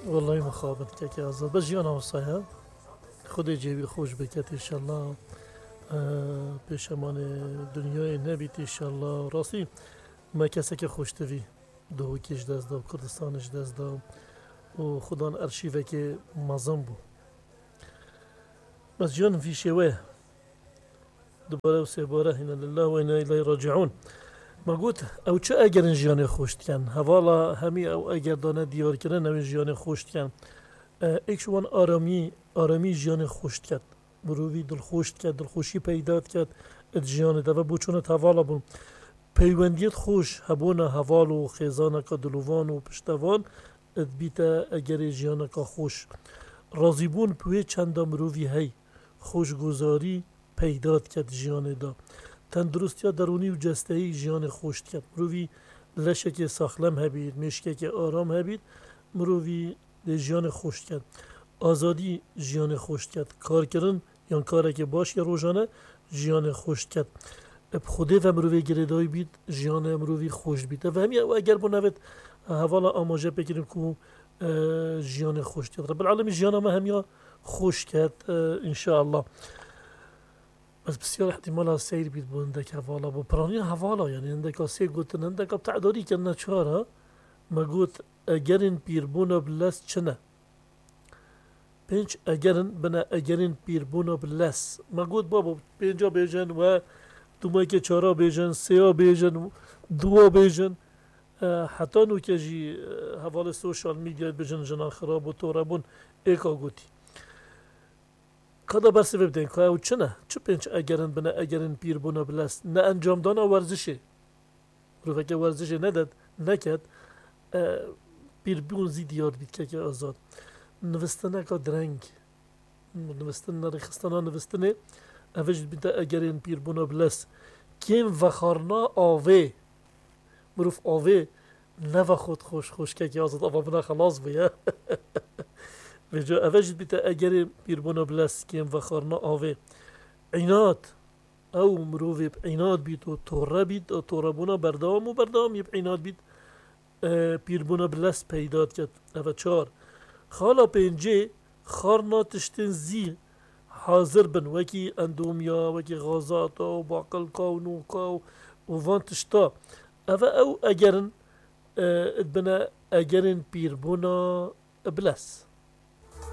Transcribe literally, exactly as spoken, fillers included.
Wellahî mixabin kekê Azad. Bes jiyana wisa ye. Xwedê cêwî xweş biket înşallah. Eee, pêşemanê dinyayê nebît înşallah. Rastî me keseke xweştivî Duhokê ji dest da, Kurdistanê ji dest da û xudan erşîvekê mezin bû. Bes jiyan vî şêwe ye. Dubare û sêbare, inna lillahi ve inna ileyhi raciun. Me got, ew çi egerin jiyanê xweş dikin? Hevala hemî ew eger dane diyar kirin, ew ê jiyanê xweş dikin. E, êk ji wan aramî, aramî jiyanê xweş diket. Mirovî dilxweş diket, dilxweşî peyda diket di jiyanê de. Ve boçûnet hevala bûn. Peywendiyet xweş, hebûna heval û xêzaneka dilovan û piştevan, dibîte egerê jiyaneka xweş. Razîbûn bi wê çenda mirovî hey, xweşguzarî peyda diket jiyanê de. Tenduristiya derûnî û cesteyî jiyanê xweş diket. Mirovî leşekê saxlem hebît, mêşkekê aram hebît, mirovî dê jiyanê xweş diket. Azadî jiyanê xweş diket. Karkirin yan karekê baş ya rojane jiyanê xweş diket. Bi Xwedê ve mirovê girêdayî bît, jiyanê mirovî xweş bît. Ev hemiya ew eger bûn evêt hevala amaje pêkirin ku, e, jiyanê xweş diket. Rebbil Alemîn jiyana me hemiya xweş ket, e, înşallah. Bes pisyar ihtimala seyr bît bo hindek hevala, bo piraniya hevala, yani hindeka sê gotin, hindeka bi te'darî kirine çar e. Me got, egerên pîrbûna bi lez çi ne? Pênc egerin bine egerên pîrbûna bi lez. Me got, babo, pênca bêjin we, dumekê çara bêjin, sêya bêjin, duwa bêjin. E, heta nûke jî, e, hevalê sosyal medyayê dibêjin jinan xirab û torebûn êka gotî. Ka da bersivê bidin, ka ew çi ne? Çi pênc egerin bine egerên pîrbûna bi lez? Ne encamdana werzişê. Miroveke werzişê nedet, neket, e, pîrbûn zî diyar dibît keke Azad. Nivistineka direng. Nivistin, nerêxistina nivistinê, ev jî dibîte egerên pîrbûna bi lez. Kêm vexarna avê. Mirov avê nevexwit xweş, xweş kekê Azad, ava bina xelas bûye. Vêca ev jî dibîte egerê pîrbûna bi lez, kêm vexarina avê. Înat, ew mirovê bi înat bît û torre bît, û torrebûna berdewam û berdewamî bi înat bît, e, pîrbûna bi lez peyda diket. Ev e çar. Xala pêncê, xarna tiştên zî hazir bin, wekî endomya, wekî xazata û baqilka û noka û, û van tişta. Ev e ew egerin, e, dibine egerên pîrbûna bi lez.